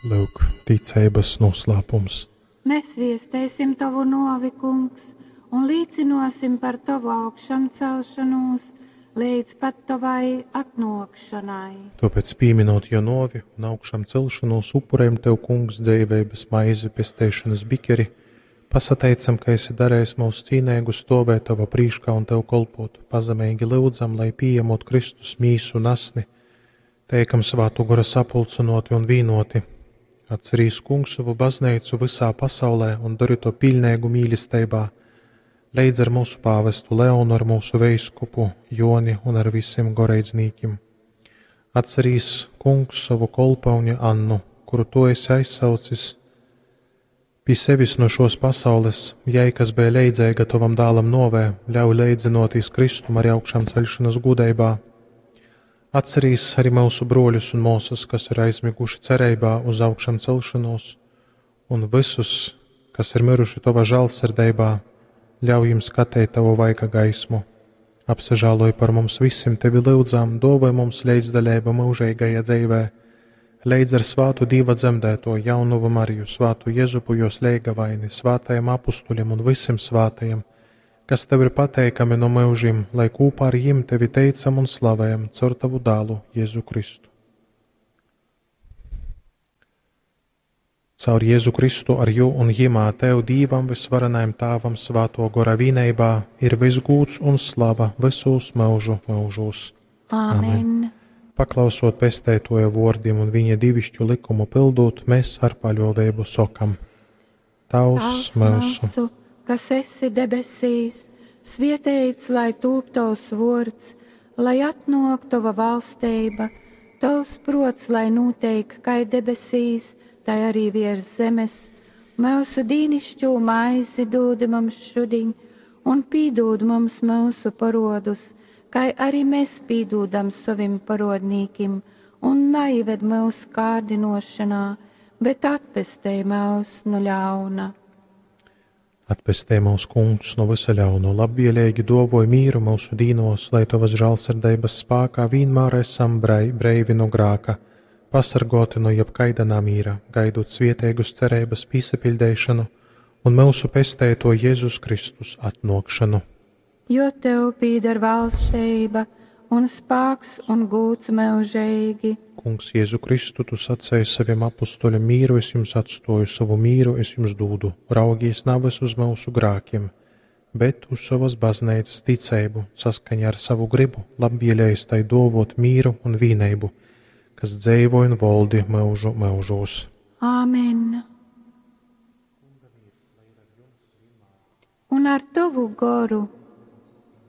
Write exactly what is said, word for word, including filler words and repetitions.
Lūk, ticeibas noslēpums. Mēs viestēsim Tavu novi, Kungs, un līcinosim par Tavu augšamcelšanos līdz pat Tavai atnākšanai. Tāpēc, pieminot jo novi un augšām celšanos, upurējam Tev, Kungs, dzīveibas maizi, pesteišanas bikeri, pasateicam, ka esi darējis mūs cīnēgu stovēt Tava prīškā un Tev kolpot. Pazemīgi lūdzam, lai pieņemot Kristus mīsu un asni, teikam svātu gora sapulcinoti un vīnoti. Atcerīs, Kungs, savu baznīcu visā pasaulē un dari to pilnīgu mīlestībā, leidz ar mūsu pāvestu Leonu, ar mūsu veiskupu Joni un ar visiem goreidznīkim. Atcerīs, Kungs, savu kolpauņu Annu, kuru tu esi aizsaucis pie sevis no šos pasaules, jai, kas bija leidzēga tavam dālam novē, ļauj leidzinoties Kristum arī augšām ceļšanas gudībā. Atcerīs arī mūsu broļus un māsas, kas ir aizmiguši cerībā uz augšām celšanos, un visus, kas ir miruši tavā žēlsirdībā, ļauj jums skatīt tavu vaiga gaismu. Apsažāloj par mums visiem, tevi lūdzām, dāvāj mums līdzdaļību mūžīgajā dzīvē, leidz ar svātu Dieva dzemdēto jaunuvu Mariju, svātu Jezupu jos leigavaini, svātajiem apustuļiem un visiem svātajiem, kas tev ir pateikami no mūžiem, lai kopā ar jim tevi teicam un slavējam caur tavu dālu Jēzu Kristu. Caur Jēzu Kristu ar jū un jimā tev Dīvam visvarenajam Tāvam svāto gora vīneibā ir visgūts un slava visos mūžu mūžos. Āmen. Amen. Paklausot pestētoja vārdiem un viņa divišķu likumu pildot, mēs ar paļāvību sokam: Tavs Tavs mūsu, mūsu, kas esi debesīs, svietēts lai tūp tavs vārds, lai atnāk tava valstība, tavs prots, lai notiek kai debesīs, tai arī virs zemes. Mūsu dīnišķo maizi dod mums šodien, un pīdod mums mūsu parodus, kai arī mēs pīdūdam savim parodnīkim, un neived mūsu kārdinošanā, bet atpestej mūs no ļauna. Atpestē mūs, Kungs, no visa ļauna, labvēlīgi dovoj mīru mūsu dīnos, lai tavas žēlsirdības spēkā vienmēr esam brei, breivi no grāka, pasargoti no jebkaida namīra, gaidot svietēgus cerības pīsapildēšanu un mūsu pestēto Jēzus Kristus atnākšanu. Jo tev pīder valstība un spēks un gūts mūžīgi. Kungs, Jēzu Kristu, tu sacēji saviem apustuļiem: mīru es jums atstoju, savu mīru es jums dūdu. Raugies navas uz mūsu grākiem, bet uz savas baznīcas ticību, saskaņā ar savu gribu, labvēlējis tai dovot mīru un vīneibu, kas dzeivo un voldi mūžu mūžos. Āmen. Un ar tavu goru.